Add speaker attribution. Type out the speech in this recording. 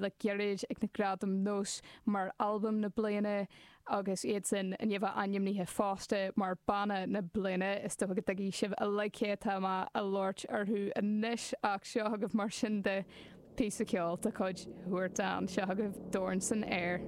Speaker 1: Le gairid ag na Gradaim Nós mar Albam na Bliana agus iadsan i ndiaidh a bheith ainmnithe fosta mar Banna na Bliana. Is dócha go dtuigfidh sibh uilig cé atá mé a labhairt orthu anois ach seo chugaibh mar sin de píosa ceoil de chuid Huartan. Seo chugaibh Dorn san Aer.